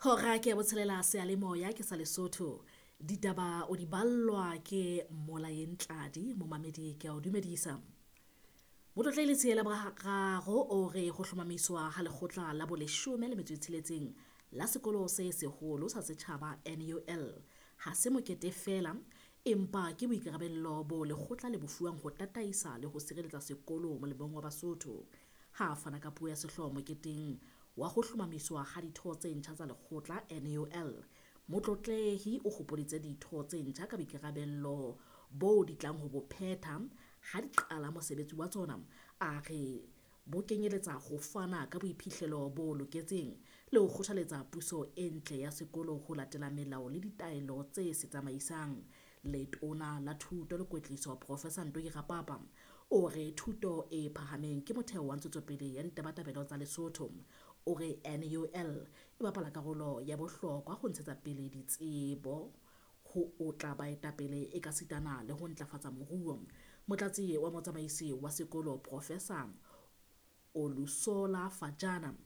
Hora ke ya botshelela seyalemoya ke sa Lesotho. Ditaba o di ballwa ke Molaeng Tladi, momamedi ke a o dumedisa. Motlotlehile Letshela Boraro o re ho hlomamiswa ha lekgotla la boleshome le metso e tsheletseng la sekolo se seholo sa setjhaba NUL ha se mokete feela, empa ke boikarabello bo lekgotla le bo fuwang ho tataisa le ho sireletsa sekolo molemong wa Basotho. Ha fana ka puo ya sehlooho moketeng wa ho hlomamiswa ha ditho tse ntjha tsa lekgotla NUL, Motlotlehi o hopoditse ditho tse ntjha ka boikarabello bo di tlang ho bo phetha ha di qala mosebetsi wa tsona. A re bo kenyeletsa ho fana ka boiphihlelo bo loketseng le ho kgothaletsa puso e ntle ya sekolo ho latela melao le ditaelo tse se tsamaisang. Letona la Thuto le Kwetliso Professor Ntoki Rapapa o re thuto e phahameng ke motheo wa ntshetsopele ya ditabatabelo tsa Lesotho. O re NUL e bapala karolo ya bohlokwa ho ntshetsa pele ditsebo, ho otla baetapele ekasitana le ho ntlafatsa moruo. Motlatsi wa motsamaisi wa sekolo Professor Olusola Fajana.